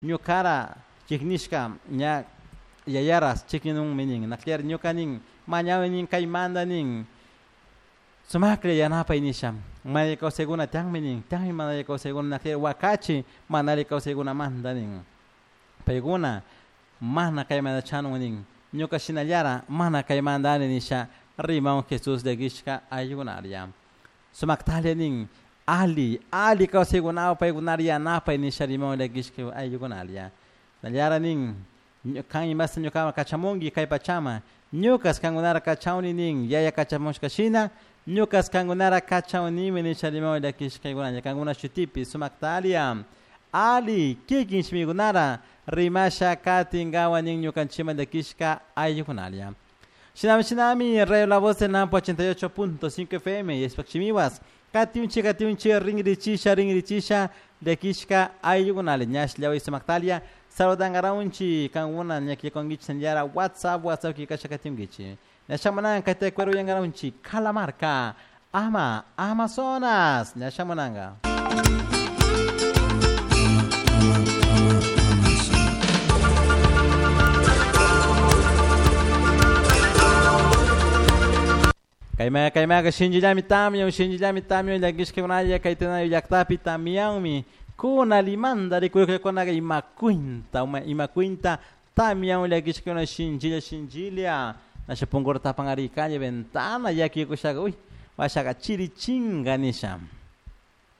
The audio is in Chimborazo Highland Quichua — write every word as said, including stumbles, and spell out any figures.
Ñukara chiknishka ña yayaras chikninunmi nin nakllari ñuka nin mañawi nin kaymanta nin sumaklla yanapay nisha mana alli kawsaykuna tiyanmi nin tiyanmi mana alli kawsaykuna nakllari wakachi mana alli kawsaykunamanta nin paykuna mana kaymanta chanun nin ñuka shinallara mana kaymantani nisha rimawan Jesús llakishka ayllukunalla sumaktalla nin ali ali kawsaykunawan paykunara yanapay nisha rimawan llakishka ayllukunalla nallara nin kan imasta ñukaman kachamunki kay pachaman ñukas kankunara kachawni nin yaya kachamushka shina ñukas kankunara kachawnimi nisha rimawan llakishkaykunalla kankuna shutipi sumaktalia ali kikin shimikunara rimasha katinkawan nin ñukanchikman llakishka ayllukunalla. Shinami shinami Radio La Voz del Nampo ochenta y ocho punto cinco F M y Espachimiwas katiunchi katiunchi ringrichisha ringrichisha llakishka ayllukunalla ñash llawi sumaktalia saludangaраunchi kankuna ñakikonkichi sanllara WhatsApp WhatsApp kikasha katiunkichi ñashamunanka kayta cueruyangaраunchi Calamarca ama Amazonas ñashamunanka. Kaymaqa kaymaqa shinchillami tamyan shinchillami tamyan llakishkakunalla kaytanayo llaqtapi tamyanmi kuna limanta rikurikunaqa ima cuenta ima cuenta tamyan llakishkakuna shinchilla shinchilla nasha punkura tapanqarikalla ventana yakikushaqa uy washaqa chirichinga nisha.